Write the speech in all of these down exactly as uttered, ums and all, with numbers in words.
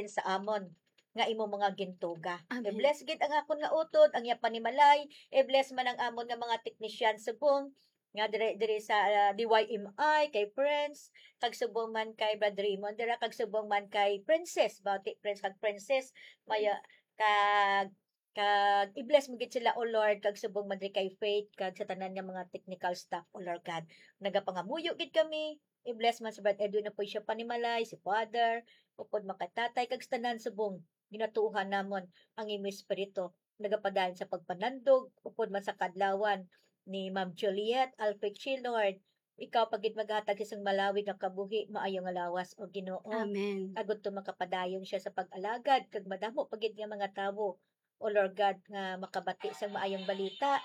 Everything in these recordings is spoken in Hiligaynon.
sa amon nga imo mga gintuga. Amen. I-bless gid ang akon nga utod, ang iya panimalay, i-bless man ang amon nga mga teknisyan subong nga dire, dire sa, ah, D Y M I, kay Prince, kag subong man kay Brad Raymond, dira kag subong man kay Princess, bati Prince kag Princess, maya, kag, kag i-bless mo gid sila, O Lord, kag subong man diri kay Faith, kag sa tanan nga mga technical staff, O Lord God. Nagapangamuyo gid kami, i-bless man si Brad Edwin na po siya panimalay, si Father, upod man kay Tatay, kag sa tanan subong, ginatuohan namon ang imo Espiritu, nagapadayon sa pagpanandog, upod man sa kadlawan ni Ma'am Juliet Alfred Chi, Lord. Ikaw pa gid maghatag sa isang malawig nga kabuhi, maayo nga lawas, O Ginoo. Amen. Agud to makapadayon siya sa pag-alagad, kag madamo pa gid nga mga tawo, O Lord God, nga makabati sang maayong balita.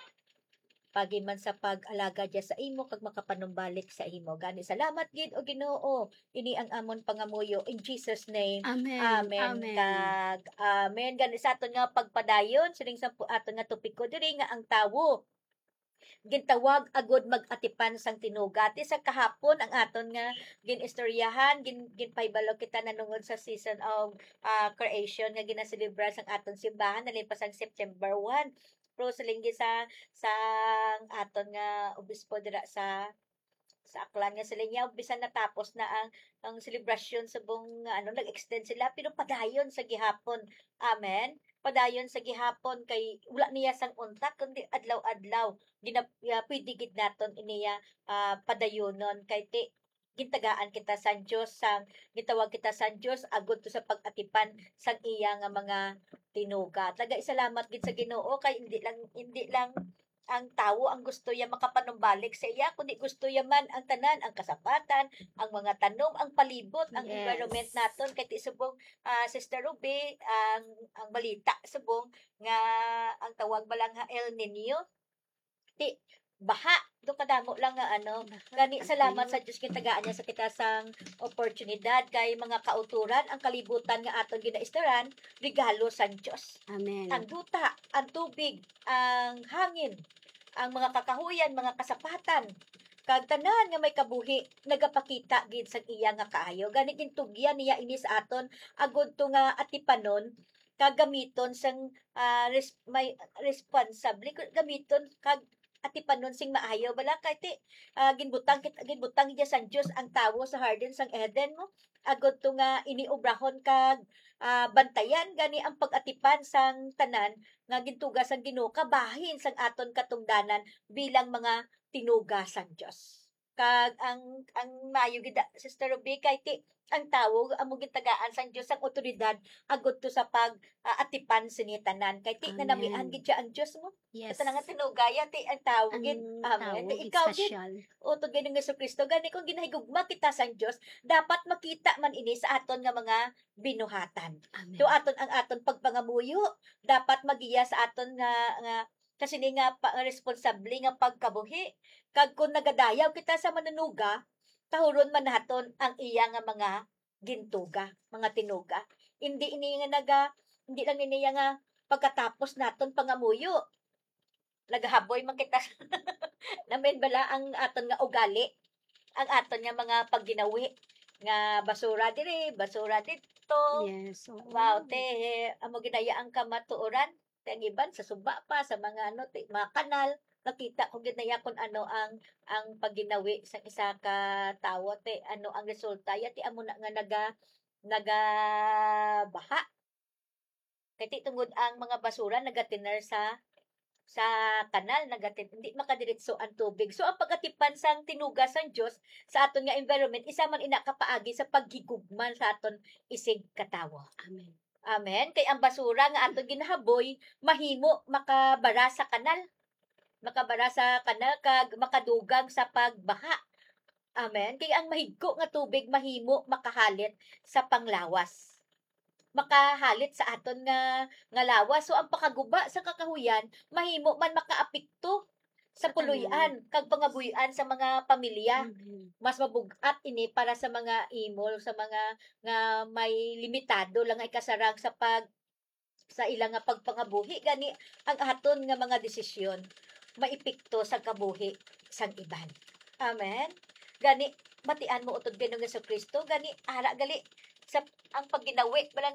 Pagi man sa pag-alagad niya sa imo, kag makapanumbalik sa imo. Gani, salamat gid, O Ginoo. Ini ang amon pangamuyo. In Jesus' name, Amen. Amen. Amen. Kag amen. Gani, sa aton nga pagpadayon, sining sa pu-, aton nga topiko diri nga ang tawo gintawag agud mag-atipan sang tinuga. Ti sa kahapon ang aton nga gin-istoryahan, gin-, ginpahibalo kita nanungod sa season of, ah, creation nga ginaselebrar sang aton simbahan, nalin pa sang September one. Pero siling gid sa, sang aton nga obispo dira sa, sa Aklan nga siling niya, bisan natapos na ang, ang selebrasyon subong nga, ano, nag-extend sila, pero padayon sa gihapon. Amen? Padayon sa gihapon kay wala niya sang untat, kundi adlaw-adlaw. Gina-, ah, pwede gid naton iniya, ah, padayonon kay ti, gintagaan kita sang Dios, sang, gitawag kita sang Dios agud to sa pag-atipan sang iya nga mga tinuga. Taga isalamat gid sa Ginoo kay hindi lang, hindi lang ang tawo ang gusto ya makapanumbalik sa iya, kundi gusto ya man ang tanan, ang kasapatan, ang mga tanom, ang palibot, ang Yes. environment naton. Kay ti subong, ah, Sister Ruby, ang, ang balita subong nga ang tawag ba lang ha El Niño? Ti, baha. Do kadamo lang nga ano. Baha, Gani, ang salamat tuyo. Sa Dios, gintagaan niya sa kita sang oportunidad kay mga kauturan, ang kalibutan nga aton ginaistaran, regalo sang Dios. Amen. Ang duta, ang tubig, ang hangin, ang mga kakahuyan, mga kasapatan, kag tanan nga may kabuhi, nagapakita gid sang iya nga kaayo. Gani, gintugyan niya ini sa aton, agud to nga atipanon, kag gamiton sang, ah, res-, may responsable, gamiton kag atipanon sing maayo. Bala kay ti, ah, ginbutang kit-, ginbutang niya sang Dios ang tawo sa hardin sang Eden mo. Agud to nga ini obrahon kag, ah, bantayan gani ang pag-atipan sang tanan nga gintuga sang Ginoo kabahin sang aton katungdanan bilang mga tinuga sang Dios. Kag ang, ang maayo gid, Sister Ruby, kay ti, ang tawo amo gintagaan sang Dios ang awtoridad agud to sa pag, ah, atipan sini tanan. Kay ti, Amen. Nanamian gid siya ang Dios mo. Yes. Ito na nga tinugaya, ti, ang tawo Ang gid. Amen. tawo Ti, ikaw gid, espesyal. Utod gid ni Jesu-Cristo, gani kung ginahigugma kita sang Dios, dapat makita man ini sa aton nga mga binuhatan. Amen. So, aton, ang aton pagpangamuyo, dapat magiya sa aton nga, nga sa sini nga pa-, responsable nga pagkabuhi. Kag kon nagadayaw kita sa manunuga, tahuron man naton ang iya nga mga gintuga, mga tinuga. Hindi ini nga naga-, hindi lang ini nga pagkatapos naton pangamuyo. Nagahaboy man kita. Namin bala ang aton nga ugali, ang aton nga mga pagginawi, nga basura diri, basura dito. Yes, oo. Wow, te, amo ginaya ang kamatuoran. Kay ang iban sa suba pa, sa mga ano, ti-, mga kanal, nakita ko gid na iya kung ano ang, ang pagginawi sang isa ka tawo, ti, ano ang resulta, ya, ti, amo na nga naga-, nagabaha. Kay ti, tungod ang mga basura nagatiner sa, sa kanal, nagatin-, hindi makadiretso ang tubig. So, ang pagatipan sang tinuga sang Dios sa aton nga environment, isa man ina ka paagi sa paghigugma sa aton isig katawo. Amen. Amen. Kay ang basura nga aton ginahaboy, mahimo makabara sa kanal. Makabara sa kanal kag makadugang sa pagbaha. Amen. Kay ang mahigko nga tubig mahimo makahalit sa panglawas. Makahalit sa aton nga, nga lawas. So, ang pakaguba sa kakahuyan, mahimo man makaapekto sa Sa tanan. Puloy-an kag pangabuy-an sa mga pamilya. Amen. Mas mabug-at ini para sa mga imol, sa mga nga may limitado lang ay kasarang sa pag-, sa ila nga pagpangabuhi. Gani, ang aton nga mga desisyon maepekto sa kabuhi sang iban. Amen. Gani, batian mo utod kay Ginoong Jesu-Cristo. Gani, ara gali sa ang pagginawi, bala